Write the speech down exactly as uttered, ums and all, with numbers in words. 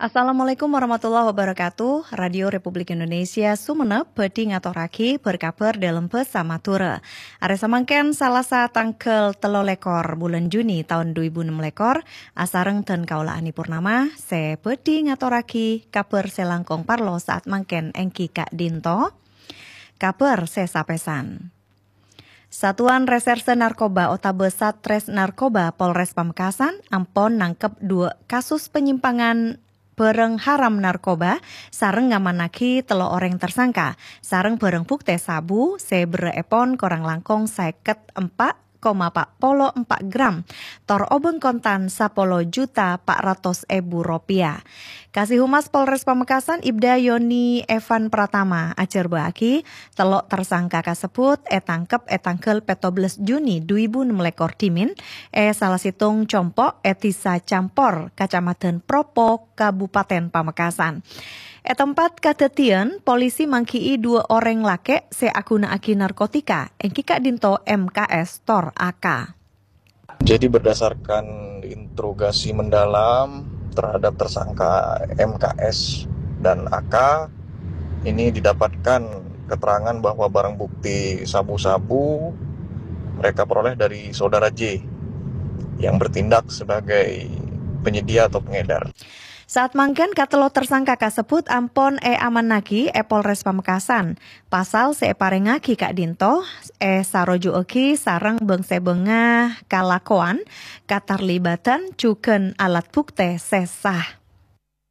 Assalamualaikum warahmatullahi wabarakatuh. Radio Republik Indonesia Sumenep bhâdhi ngatorraghi bâr-kabhâr dâlem bhâsa Madhurâ. Arè samangkèn Salasa tangghâl tello lèkor bulân Juni taon du èbu ennem lèkor, asareng dân kaulâ Ani Purnama, sè bhâdhi ngatorraghi kabhâr sè langkong parlo saat mangkèn èngghi ka'dinto. Kabhâr sè sapèsan. Satuan Reserse Narkoba otabâ Satres Narkoba Polres Pamekasan ampon nangkep dua kasus penyimpangan barang haram narkoba sareng ngamannaghi tello orèng tersangka sareng barang buktè sabu sè berrâ'èpon korang langkong sèket empa' koma pa' polo empa' gram, tor obâng kontan sapolo juta pa' ratos èbu ropèya. Kasihumas Polres Pamekasan Ibda Yoni Evan Pratama ajhârbâ'âghi, tello' tersangka kasebbhut ètangkep è tangghâl pètto bellâs Juni du èbu ennem lèkor dhimèn è sala sèttong compo' è Dhisa Campor, Kacamadhân Propo, Kabupaten Pamekasan. È tempat kadhâddhiyân, polisi mangghi'i dua orèng lakè' sè aghuna'aghi narkotika, èngghi ka'dinto M K S tor A K. Jadi, berdasarkan interogasi mendalam terhadap tersangka M K S dan A K, ini didapatkan keterangan bahwa barang bukti sabu-sabu mereka peroleh dari saudara J yang bertindak sebagai penyedia atau pengedar. Saat mangkèn, katello' tersangka kasebbhut ampon èamannaghi è Polres Pamekasan. Pasal sè èparèngaghi ka'dinto èsaroju'aghi sareng bâng-sèbângnga kalakowan, katarlibadhân, jhughân alat buktè sè sah.